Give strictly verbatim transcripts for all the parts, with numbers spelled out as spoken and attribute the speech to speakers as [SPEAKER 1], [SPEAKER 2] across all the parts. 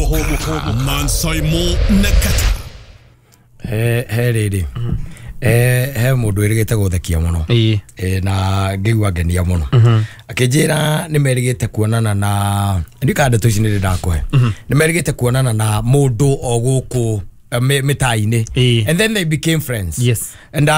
[SPEAKER 1] Hũmũka Man Saimo na Kata.
[SPEAKER 2] He he rĩrĩ eh he mũndũ wĩrĩgĩte gũthekia mũno eh na ngĩigua ngenia mũno akĩnjĩra nĩ merĩgĩte kuonana na ndika ndeto ici nĩ ndakũhe nĩ merĩgĩte kuonana na mũndũ o gũkũ mĩta-inĩ and then they became friends.
[SPEAKER 3] Yes.
[SPEAKER 2] And uh,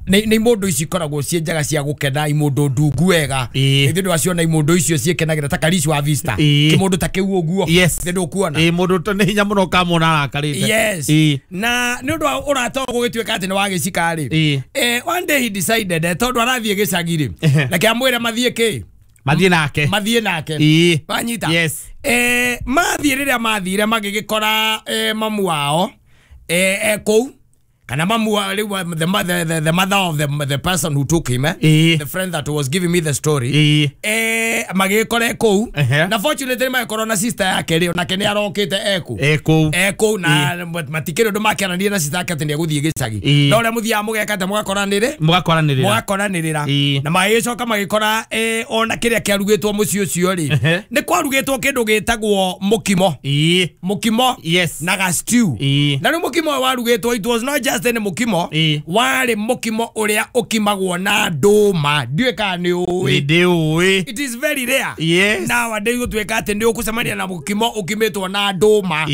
[SPEAKER 2] nĩ nĩ mũndũ ici ikoragwo ciĩ njega cia gũkena i mũndũ ndungu wega ithuĩ ndwaciona i mũndũ icio ciĩkenagĩra ta Karish wa Vista kĩmũndũ ta kĩu ũguo ithuĩ ndũkuona
[SPEAKER 3] ĩ mũndũ nĩ hinya mũno ũkamwona arakarĩte.
[SPEAKER 2] Yes. Na nĩ ũndũ wa ũrata ũyũ gũgĩtuĩka atĩ nĩ wa gĩcika rĩ, eh one day he decided tondũ arathiĩ gĩcagi rĩ reke amwĩre mathiĩ kĩ
[SPEAKER 3] mathiĩ nake
[SPEAKER 2] mathiĩ nake wanyita.
[SPEAKER 3] Yes.
[SPEAKER 2] Eh mathiĩ rĩrĩa mathire magĩgĩkora eh, mamu wao eh eh kũu kana mamu rĩu the mother the, the mother of the, the person who took him eh?
[SPEAKER 3] E.
[SPEAKER 2] The friend that was giving me the story
[SPEAKER 3] E.
[SPEAKER 2] eh magĩgĩkora kũu na fortunately magĩkorwo na sister yake rĩ onake nĩ arokĩte eku
[SPEAKER 3] eku
[SPEAKER 2] eku na matikĩrĩ ũndũ makĩaranire na sister yake atĩ nĩ egũthiĩ gĩcagi no ũrĩa mũthiaga mũgeka atĩ mũgakoranĩrĩ
[SPEAKER 3] mũgakoranĩrĩra
[SPEAKER 2] mũgakoranĩrĩra na magĩgĩcoka magĩkora eh, ona kĩrĩa kĩarugĩtwo mũciĩ ũcio rĩ nĩ kwarugĩtwo kĩndũ gĩtagwo mũkimo mũkimo.
[SPEAKER 3] Yes.
[SPEAKER 2] Na ga stew na rĩu mũkimo ũyũ warugĩtwo it was not just any mũkimo warĩ mũkimo ũrĩa ũkimagwo na ndũma ndiũĩ kana nĩ ũĩ
[SPEAKER 3] ndĩũĩ.
[SPEAKER 2] It is very rare.
[SPEAKER 3] Yes.
[SPEAKER 2] Nowadays gũtuĩka atĩ nĩ ũgũcemania na mũkimo ũkimĩtwo na ndũma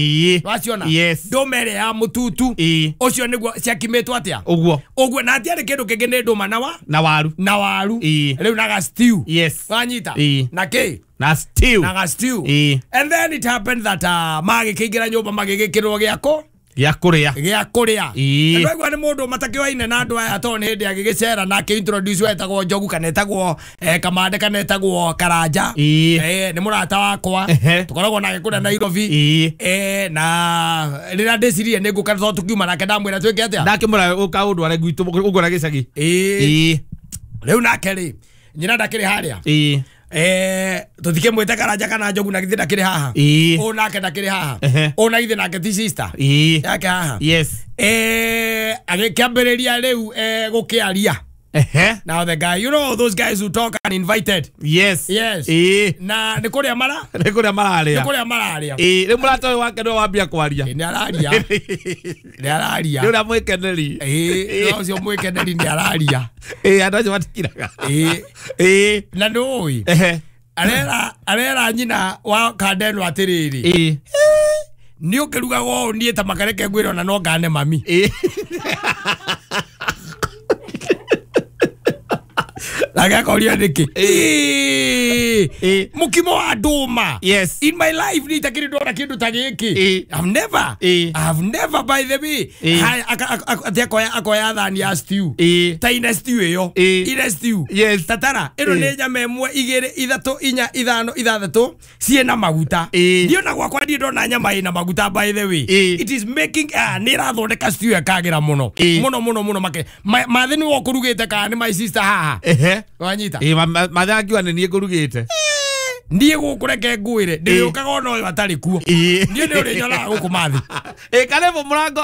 [SPEAKER 2] waciona.
[SPEAKER 3] Yes.
[SPEAKER 2] Ndũma ĩrĩa ya mũtutu ũcio nĩguo ciakimĩtwo atĩa
[SPEAKER 3] ũguo
[SPEAKER 2] ũguo na hatiarĩ kĩndũ kĩngĩ nĩ ndũma na wa
[SPEAKER 3] na waru
[SPEAKER 2] na waru rĩu na ga stew.
[SPEAKER 3] Yes.
[SPEAKER 2] Wanyita na kĩ
[SPEAKER 3] na stew
[SPEAKER 2] na ga stew. And then it happened that uh, magĩkĩingĩra nyũmba magĩgĩkĩrwo gĩako
[SPEAKER 3] gĩa kũrĩa
[SPEAKER 2] gĩa kũrĩa ndwaigua nĩ mũndũ matakĩoaine na andũ aya tondũ nĩ hĩndĩ agĩgĩcera na akĩintroduce etagwo Njogu kana etagwo eh, Kamande kana etagwo Karanja eh, nĩ mũrata wakwa tũkoragwo nake kũrĩa Nairobi eh, na rĩrĩa ndĩcirie nĩ ngũka tondũ tũkiuma nake ndamwĩra twĩke atĩa
[SPEAKER 3] ndakĩmwĩra ũka ũndware gwitũ ũngwara gĩcagi
[SPEAKER 2] ĩĩ rĩu nake rĩ nyina ndakĩrĩ harĩa eh tuthikemwite Karanja kana Njogu na githĩ ndakĩrĩ haha ũ nake ndakĩrĩ haha ũ na githĩ nake ti sister yake haha.
[SPEAKER 3] Yes.
[SPEAKER 2] Eh agĩkĩambĩrĩria rĩu eh gũkĩaria. Now the guy, you know those guys who talk and invited.
[SPEAKER 3] Yes.
[SPEAKER 2] Yes.
[SPEAKER 3] Eh.
[SPEAKER 2] Na nĩ kũrĩa mara
[SPEAKER 3] nĩ kũrĩa mararĩa
[SPEAKER 2] nĩ kũrĩa mararĩa
[SPEAKER 3] eh rĩu mũrata ũyũ wake nĩwe wambia kwaria
[SPEAKER 2] nĩ araria nĩ araria
[SPEAKER 3] nĩ ũrĩa mwĩkeneri
[SPEAKER 2] eh ũcio mwĩkeneri nĩ araria
[SPEAKER 3] eh andũ acio matikiraga
[SPEAKER 2] eh
[SPEAKER 3] eh
[SPEAKER 2] na ndũĩ arera arera nyina wa kandeno atĩrĩrĩ
[SPEAKER 3] eh
[SPEAKER 2] nĩ ũkĩrugaga ũũ niĩ ta makareke ngwĩre ona no ngane mami
[SPEAKER 3] eh
[SPEAKER 2] Agakoria nĩkĩ eh mũkimo wa ndũma.
[SPEAKER 3] Yes.
[SPEAKER 2] In my life nĩ itakĩrĩ ndona kĩndũ ta gĩkĩ. I've never I've never by the way atĩ akoya akoya thani ya stew ta ine stew ĩyo ine stew.
[SPEAKER 3] Yes.
[SPEAKER 2] Tatara ĩno nĩ nyama ĩmwe igĩrĩ ithatũ inya ithano ithathatũ ciĩna maguta ndiona gwakwa ndiĩ ndona nyama ĩna maguta by the way. It is making nĩ ĩrathondeka stew ĩkagĩra mũno mũno mũno mũno make mathĩ nĩwe ũkũrugĩte kana nĩ my sister haha wanyita
[SPEAKER 3] eh mathe angiuga nĩ niĩ ngũrugĩte
[SPEAKER 2] niĩ gũkũ reke ngwĩre ndĩrĩũkaga ona ũyũ atarĩ kuo niĩ nĩ ũrĩnyonaga gũkũ mathĩ
[SPEAKER 3] ĩ karĩbũ mũrango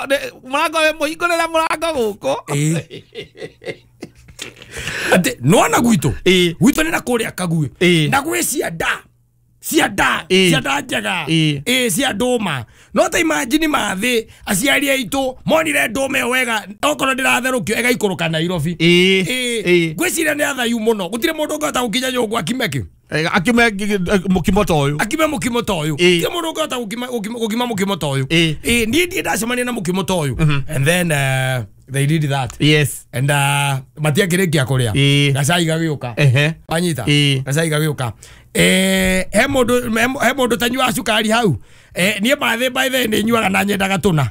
[SPEAKER 3] mũrango wĩ mũhingũrĩre mũrango gũkũ
[SPEAKER 2] atĩ nĩwona gwitũ gwitũ nĩ na kũrĩa Kaguĩ na gwĩ cianda cianda cianda njega ĩ cia ndũma no ta imagine mathĩ aciari aitũ monire ndũma ĩyo wega okorwo ndĩratherũkio ĩgaikũrũka Nairobi ĩ ngwĩciria nĩ athayu mũno gũtirĩ mũndũ ũngĩhota gũkinya nyũngũ akime kĩ
[SPEAKER 3] akime mũkimo ta ũyũ
[SPEAKER 2] akime mũkimo ta ũyũ gũtirĩ mũndũ ũngĩhota gũkima mũkimo ta ũyũ ĩ niĩ ndiĩ ndacemania na mũkimo ta ũyũ and then uh, they did that.
[SPEAKER 3] Yes.
[SPEAKER 2] And uh, matiakĩrĩkia kũrĩa gacai gagĩũka wanyita gacai gagĩũka eh he mũndũ he mũndũ tanyuaga cukari hau eh niĩ mathĩ by the nĩ nyuaga na nyendaga tũna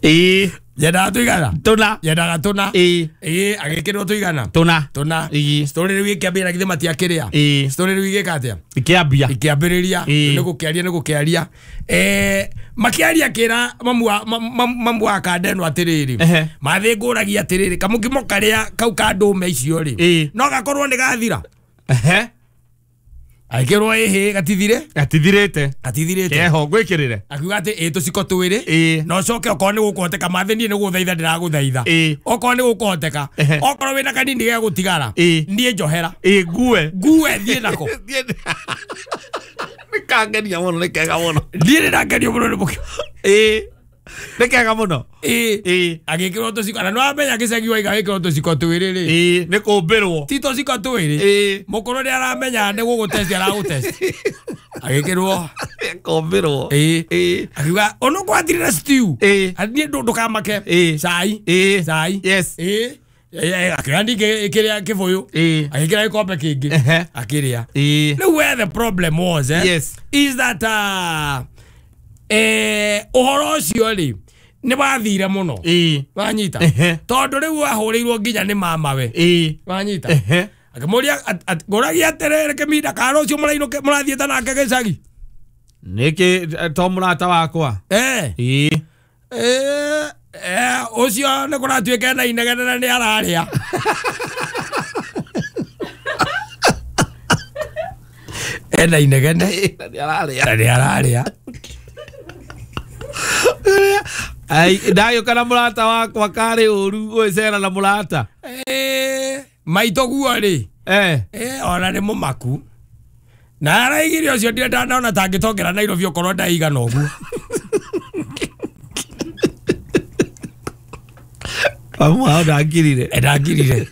[SPEAKER 3] ĩ
[SPEAKER 2] nyendaga tũigana
[SPEAKER 3] tũna
[SPEAKER 2] nyendaga tũna
[SPEAKER 3] ĩ
[SPEAKER 2] ĩ agĩkĩrwo tũigana
[SPEAKER 3] tũna
[SPEAKER 2] tũna
[SPEAKER 3] ĩ
[SPEAKER 2] story rĩu ĩkĩambĩrĩria githĩ matiakĩrĩa
[SPEAKER 3] ĩ
[SPEAKER 2] story rĩu igĩka atĩa
[SPEAKER 3] ikĩambia
[SPEAKER 2] ikĩambĩrĩria nĩ gũkĩaria nĩ gũkĩaria eh makiaria kĩra mamu wa mamu wa kandeno atĩrĩrĩ mathĩ ngũragia atĩrĩrĩ kamũkimo karĩa kau ka ndũma icio rĩ no gakorwo nĩ gathira
[SPEAKER 3] ehe
[SPEAKER 2] Aikirwo ĩhĩ gatithire
[SPEAKER 3] gatithirĩte
[SPEAKER 2] gatithirĩte
[SPEAKER 3] keho ngwĩkĩrĩre
[SPEAKER 2] akiuga atĩ ĩ tũciko twĩrĩ na ũcoke okorwo nĩ gũkũhoteka mathĩ niĩ nĩ gũthaitha ndĩragũthaitha okorwo nĩ gũkũhoteka okorwo wĩna kanini gegũtigara niĩ njohera
[SPEAKER 3] ĩ ngue
[SPEAKER 2] ngue thiĩ nako.
[SPEAKER 3] Kangenia mũno nĩ kega mũno.
[SPEAKER 2] Niĩ nĩ ndakenio mũno nĩ mũkimo.
[SPEAKER 3] Ĩĩ. Nĩ kega mũno.
[SPEAKER 2] Ĩĩ.
[SPEAKER 3] Ĩĩ.
[SPEAKER 2] Agĩkĩrwo tũciko na nĩwamenya gĩcagi waiga wĩkĩrwo tũciko twĩrĩ rĩ.
[SPEAKER 3] Ĩĩ, nĩ kũmbĩrwo.
[SPEAKER 2] Ti tũciko twĩrĩ.
[SPEAKER 3] Ĩĩ.
[SPEAKER 2] Mũkũrũ nĩ aramenya nĩ gũgũtest aragũtest. Agĩkĩrwo.
[SPEAKER 3] Kũmbĩrwo.
[SPEAKER 2] Ĩĩ.
[SPEAKER 3] Ĩĩ.
[SPEAKER 2] Akiuga ono kwathirire stew.
[SPEAKER 3] Ĩĩ.
[SPEAKER 2] Niĩ ndũkamake.
[SPEAKER 3] Ĩĩ.
[SPEAKER 2] Cai.
[SPEAKER 3] Ĩĩ.
[SPEAKER 2] Cai.
[SPEAKER 3] Yes.
[SPEAKER 2] Ĩĩ. Akĩoya ningĩ kĩrĩa kĩbũyũ.
[SPEAKER 3] Ĩĩ.
[SPEAKER 2] Agĩkĩra gĩkombe kĩngĩ.
[SPEAKER 3] Ehe.
[SPEAKER 2] Akĩrĩa.
[SPEAKER 3] Ĩĩ.
[SPEAKER 2] Rĩu where the problem was, eh?
[SPEAKER 3] Yes.
[SPEAKER 2] Is that uh, eh, ũhoro ũcio rĩ nĩ wathire mũno.
[SPEAKER 3] Ĩĩ.
[SPEAKER 2] Wanyita.
[SPEAKER 3] Ehe.
[SPEAKER 2] Tondũ rĩu ahũrĩirwo nginya nĩ mamawe.
[SPEAKER 3] Ĩĩ.
[SPEAKER 2] Wanyita.
[SPEAKER 3] Ehe.
[SPEAKER 2] Akĩmũria ngũragia atĩrĩrĩ kĩminda kana rũciũ mũrainũke mũrathiĩte nake gĩcagi.
[SPEAKER 3] Nĩkĩ to mũrata wakwa.
[SPEAKER 2] Eh.
[SPEAKER 3] Ĩĩ.
[SPEAKER 2] Eh, eh, ũcio nĩ kũratuĩka ena inegene na nĩ ararĩa. Ena inegene
[SPEAKER 3] Na nĩ ararĩa.
[SPEAKER 2] na nĩ ararĩa.
[SPEAKER 3] Ai, ndagĩũka na mũrata wakwa karĩ ũru gwĩcera na mũrata.
[SPEAKER 2] Eh, maitũ guo rĩ.
[SPEAKER 3] Eh.
[SPEAKER 2] Eh, ona nĩ mũmaku. Na araigire ũcio ndirĩ ndanaona tangĩtongera Nairobi okorwo ndaigana ũguo.
[SPEAKER 3] Mamu wao ndangirire.
[SPEAKER 2] Eh, ndangirire.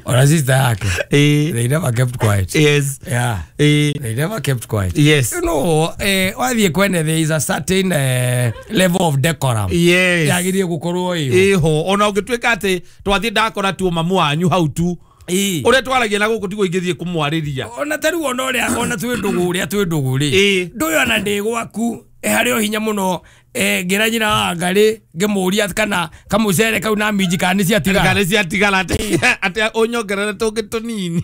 [SPEAKER 2] Ona sister yake.
[SPEAKER 3] Ĩĩ.
[SPEAKER 2] They never kept quiet.
[SPEAKER 3] Yes.
[SPEAKER 2] Yeah.
[SPEAKER 3] Ĩĩ.
[SPEAKER 2] They never kept quiet.
[SPEAKER 3] Yes.
[SPEAKER 2] You know, eh, wathiĩ kwene there is a certain eh, level of decorum.
[SPEAKER 3] Yes.
[SPEAKER 2] Yagĩrĩire gũkorwo ĩho.
[SPEAKER 3] Ĩho ona ũngĩtuĩka atĩ twathiĩ ndakora tu mamu wanyu hau tu.
[SPEAKER 2] Ĩĩ.
[SPEAKER 3] Ũrĩa twaragia na gũkũ tiguo ingĩthiĩ kũmwarĩria.
[SPEAKER 2] Ona ta rĩu ona ũrĩa ona twĩ ndũgũ ũrĩa twĩ ndũgũ rĩ.
[SPEAKER 3] Ĩĩ.
[SPEAKER 2] Ndũyũ ona ndĩ gwaku harĩ o hinya mũno eh, ngĩra nyina wa Ngarĩ ngĩmũria kana kamũcere kau na minji kana nĩ ciatigara.
[SPEAKER 3] Kana ciatigara atĩ atĩ ũnyongerere tũngĩ tũnini.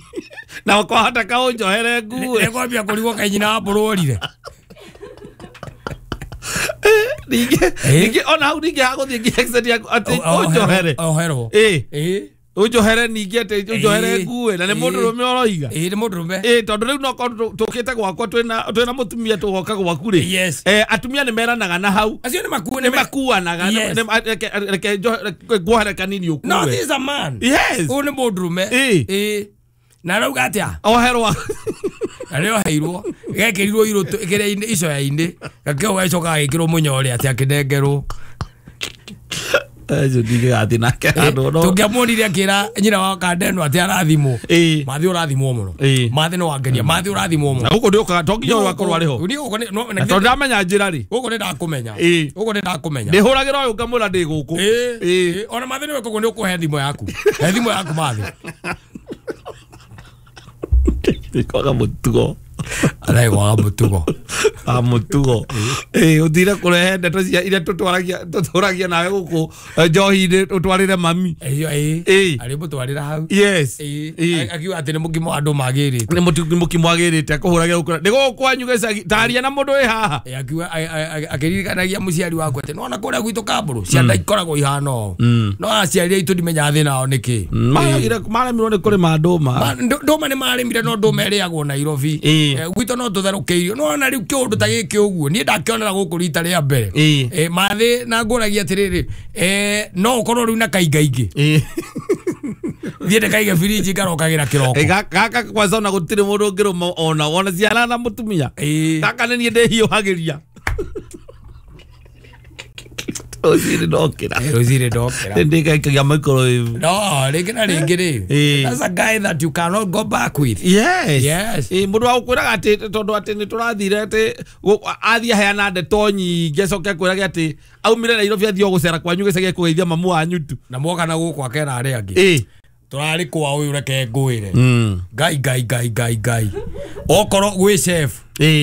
[SPEAKER 3] Na kwahota kaũnjohere ngue.
[SPEAKER 2] Nĩkwambia kũrigwo kaĩ nyina wa mbũrũrire.
[SPEAKER 3] Ningĩ ningĩ ona hau ningĩ hagũthiĩ nginya exit yaku atĩ ũnjohere.
[SPEAKER 2] Oherwo.
[SPEAKER 3] Ĩĩ.
[SPEAKER 2] Ĩĩ.
[SPEAKER 3] Ũnjohere ningĩ atĩ ũnjohere ngue na nĩ mũndũrũme ũroiga.
[SPEAKER 2] Ĩĩ nĩ mũndũrũme.
[SPEAKER 3] Ĩĩ tondũ rĩu no korwo tũkĩte gwakwa twĩna twĩna mũtumia tũgoka gwaku rĩ.
[SPEAKER 2] Yes.
[SPEAKER 3] Eh, atumia nĩ meranaga na hau.
[SPEAKER 2] Acio nĩ makuo
[SPEAKER 3] Nĩ makuanaga.
[SPEAKER 2] Yes.
[SPEAKER 3] Reke nguohere kanini ũkue.
[SPEAKER 2] No, this is a man.
[SPEAKER 3] Yes.
[SPEAKER 2] Ũyũ nĩ mũndũrũme.
[SPEAKER 3] Ĩĩ.
[SPEAKER 2] Ĩĩ. Na arauga atĩa?
[SPEAKER 3] Oherwo.
[SPEAKER 2] Na nĩ oheirwo. Gekĩrirwo irũtũ kĩrĩa-inĩ icoya-inĩ. Gakĩo gacoka gagĩkĩrwo mũnyore atĩ akĩnengerwo.
[SPEAKER 3] Acio ndingĩgathiĩ nake handũ no.
[SPEAKER 2] Tũngĩamuonire akĩra nyina wa Kandeno atĩ arathimwo.
[SPEAKER 3] Ĩĩ.
[SPEAKER 2] Mathi ũrathimwo mũno.
[SPEAKER 3] Ĩĩ.
[SPEAKER 2] Mathi nĩ wangenia. Mathi ũrathimwo mũno.
[SPEAKER 3] Na gũkũ ndĩũkaga to nginya ũyũ akorwo arĩ ho.
[SPEAKER 2] Niĩ gũkũ nĩ- no-
[SPEAKER 3] Na tondũ ndamenya njĩra rĩ.
[SPEAKER 2] gũkũ nĩ ndakũmenya.
[SPEAKER 3] Ĩĩ.
[SPEAKER 2] Gũkũ nĩ ndakũmenya.
[SPEAKER 3] Ndĩhũragĩra ũyũ ngamwĩra ndĩ gũkũ.
[SPEAKER 2] Ĩĩ.
[SPEAKER 3] Ĩĩ.
[SPEAKER 2] Ĩĩ. Ona Mathi nĩwe koguo nĩ ũkũhe thimũ yaku. He thimũ yaku Mathi.
[SPEAKER 3] Kwaga mũtugo.
[SPEAKER 2] Arĩ kwaga mũtugo.
[SPEAKER 3] A mũtugo. Ĩĩ ũthire kũrehe ndeto cia iria tũtwaragia tũtũragia nawe gũkũ njohi-inĩ ũtwarĩre mami.
[SPEAKER 2] Ĩyo ĩĩ.
[SPEAKER 3] Ĩĩ.
[SPEAKER 2] Arĩ mũtwarĩra hau.
[SPEAKER 3] Yes.
[SPEAKER 2] Ĩĩ.
[SPEAKER 3] Ĩĩ.
[SPEAKER 2] Akiuga atĩ nĩ mũkimo andũ magĩrĩte.
[SPEAKER 3] Nĩ mũtu nĩ mũkimo agĩrĩte akũhũragĩra gũkũ. Nĩ gũkũ kwanyu gĩcagi taria na mũndũ wĩ haha.
[SPEAKER 2] Ĩĩ, akiuga akĩririkanagia mũciari wakwa atĩ nĩwona kũrĩa gwitũ Kambũrũ ciana ikoragwo ihana ũũ. No aciari aitũ ndimenyaga thĩna wao nĩkĩ.
[SPEAKER 3] Maragire maremirwo nĩ kũrĩma ndũma.
[SPEAKER 2] Ma- ndũ- ndũma nĩ marĩmire no ndũma ĩrĩagwo Nairobi.
[SPEAKER 3] Ĩĩ.
[SPEAKER 2] Eh, gwitũ no tũtherũkĩirio. Nĩwona rĩu kĩũndũ ta gĩkĩ ũguo niĩ ndakĩonera gũkũ rita rĩa mbere.
[SPEAKER 3] Ĩĩ.
[SPEAKER 2] Eh, Mathĩ na ngũragia atĩrĩrĩ eh, no ũkorwo rĩu na kaingaingĩ
[SPEAKER 3] Ĩĩ.
[SPEAKER 2] thiĩ ndĩkaige birinji ngarokagĩra kĩroko.
[SPEAKER 3] Ĩ, gaka kwanza ona gũtirĩ mũndũ ũngĩrũma ona ona ciana na mũtumia.
[SPEAKER 2] Ĩĩ.
[SPEAKER 3] Gaka nĩ niĩ ndĩhiũhagĩria. Rũcinĩ ndokĩra.
[SPEAKER 2] Rũcinĩ ndokĩra.
[SPEAKER 3] Ndĩkaikagia microwave.
[SPEAKER 2] No, rĩngĩ na rĩngĩ rĩ.
[SPEAKER 3] Ĩĩ.
[SPEAKER 2] That's a guy that you cannot go back with.
[SPEAKER 3] Yes.
[SPEAKER 2] Yes.
[SPEAKER 3] Ĩ, mũndũ wa gũkwĩraga atĩ tondũ atĩ nĩ tũrathire atĩ athiĩ aheana ndeto nyingĩ acoke akwĩrage atĩ aumire Nairobi athiĩ o gũcera kwanyu gĩcagi kũgeithia mamu wanyu tu.
[SPEAKER 2] Na mwoka na gũkũ akera arĩa angĩ.
[SPEAKER 3] Ĩĩ.
[SPEAKER 2] Tũrarĩ kwa ũyũ reke ngwĩre. Ngai ngai ngai ngai ngai. Okorwo gwĩ chef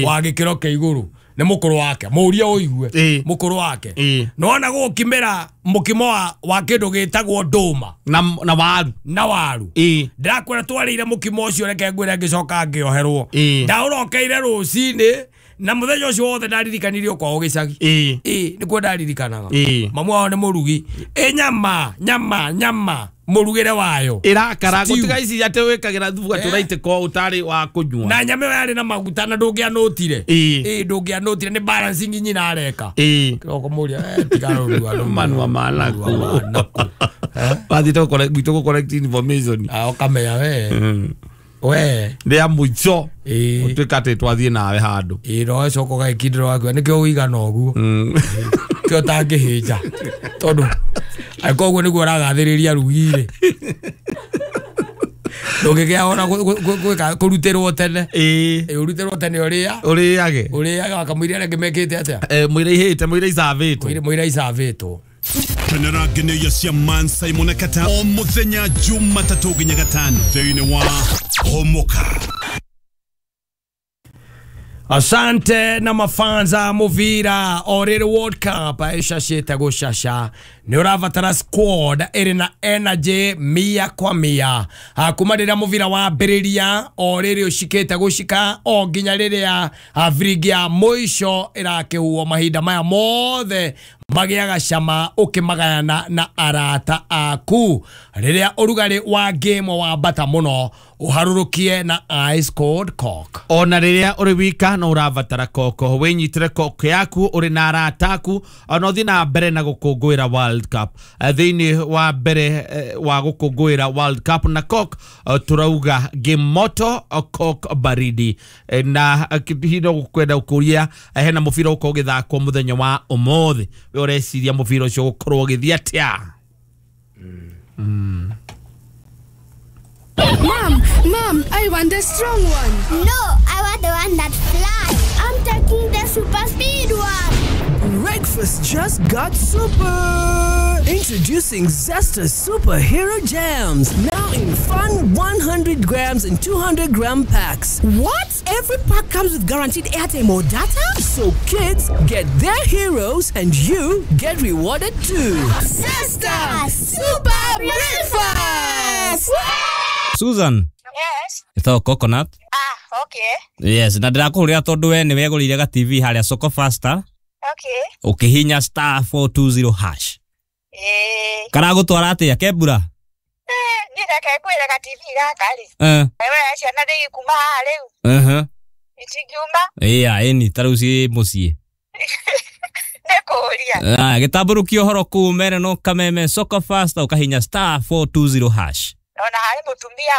[SPEAKER 2] wa gĩkĩro kĩa igũrũ nĩ mũkũrũ wake mũrie ũigue mũkũrũ wake nona gũkimĩra mũkimo wa wa kĩndũ gĩtagwo ndũma
[SPEAKER 3] na na waru
[SPEAKER 2] na waru ndĩrakwĩra twarĩire mũkimo ũcio reke ngwĩre ngĩcoka ngĩoherwo ndaũrokeire rũcinĩ na mũthenya ũcio wothe ndaririkanirio kwao gĩcagi ĩĩ nĩkuo ndaririkanaga mamu wao nĩ mũrugi ĩ nyama nyama nyama mũrugĩre wayo
[SPEAKER 3] ĩrakara gũtiga ici atĩ wĩkagĩra thubu atĩ ũraitĩka ũtarĩ wa kũnyua
[SPEAKER 2] na nyama ĩyo yarĩ na maguta na ndũngĩanũtire ĩĩ ndũngĩanũtire nĩ balancing nyina areka kĩroko mũria tiga rũrua
[SPEAKER 3] manua manaku wathiĩte gwitũ gũ collect information
[SPEAKER 2] ah ũkamenya we We
[SPEAKER 3] rĩa mũico
[SPEAKER 2] Ĩĩ.
[SPEAKER 3] ũtuĩka atĩ twathiĩ nawe handũ.
[SPEAKER 2] Ĩĩ no coka ũgagĩkindĩra waku nĩkĩo ũigana ũguo kĩo ũtangĩhĩnja tondũ angĩkorwo ũguo nĩguo ũragathĩrĩria rugi-rĩ ndũngĩgĩa ona gwĩka kũrutĩrwo tene.
[SPEAKER 3] Ĩĩ.
[SPEAKER 2] Ĩĩ ũrutĩrwo tene ũrĩa
[SPEAKER 3] ũrĩage
[SPEAKER 2] ũrĩaga wakamũiria arĩa angĩ mekĩte atĩa.
[SPEAKER 3] Eh, mũira ihĩte mũira icavĩtwo.
[SPEAKER 2] Mũira icavĩtwo.
[SPEAKER 1] Kenera ngeneia cia Man Simon Kata o muthenya Jumatatũ nginya gatano thĩinĩ wa Homoka.
[SPEAKER 2] Asante na mafanza muvira orere World Cup icacite gucaca ni urabatara squad iri na energy mia kwa mia kuma riria muvira wambiriria orere ucikite gucika o nginya riria viringi ya muico irakihuo mahinda maya mothe magiaga cama ukimagayana na arata aku riria urugari wa game wambata muno uharurukie na ice cold coke.
[SPEAKER 3] Ona riria uri wika no urabatara koko winyitire koko yaku uri na arata aku ona uthie na mbere na gukungwira World Cup. Thiini wa mbere wa gukungwira World Cup na coke turauga game moto coke baridi na hino gukwenda gukuria hena mubira ukorwo ugithakwo muthenya wa umuthi we ureciria mubira ucio gukorwo ugithie atia. Mm.
[SPEAKER 4] Mom, Mom, I want the strong one.
[SPEAKER 5] No, I want the one that flies. I'm taking the super speed one.
[SPEAKER 6] Breakfast just got super. Introducing Zesta Superhero Jams. Now in fun one hundred grams and two hundred gram packs.
[SPEAKER 7] What? Every pack comes with guaranteed airtime or data?
[SPEAKER 6] So kids get their heroes and you get rewarded too.
[SPEAKER 4] Zesta Super Breakfast!
[SPEAKER 8] Susan.
[SPEAKER 9] Yes.
[SPEAKER 8] Ito coconut.
[SPEAKER 9] Ah, okay.
[SPEAKER 8] Yes, na ndirakuhuria tondu we niwe gurire ga T V haria Soko Faster.
[SPEAKER 9] Okay.
[SPEAKER 8] Ukihinya star four two zero hash.
[SPEAKER 9] Eh.
[SPEAKER 8] Karagutwara atia kebura?
[SPEAKER 9] Eh, ni reke kwira ga T V gaka ri.
[SPEAKER 8] Eh.
[SPEAKER 9] Ewe ciana ndigikuma haha riu.
[SPEAKER 8] Eh.
[SPEAKER 9] Itingiuma?
[SPEAKER 8] Iya, eni tariu ci mucii.
[SPEAKER 9] Nikuria.
[SPEAKER 8] Ah, gitamburukia uhoro kuu mere no kameme Soko Faster ukahinya star four two zero hash.
[SPEAKER 9] Ona hari mutumia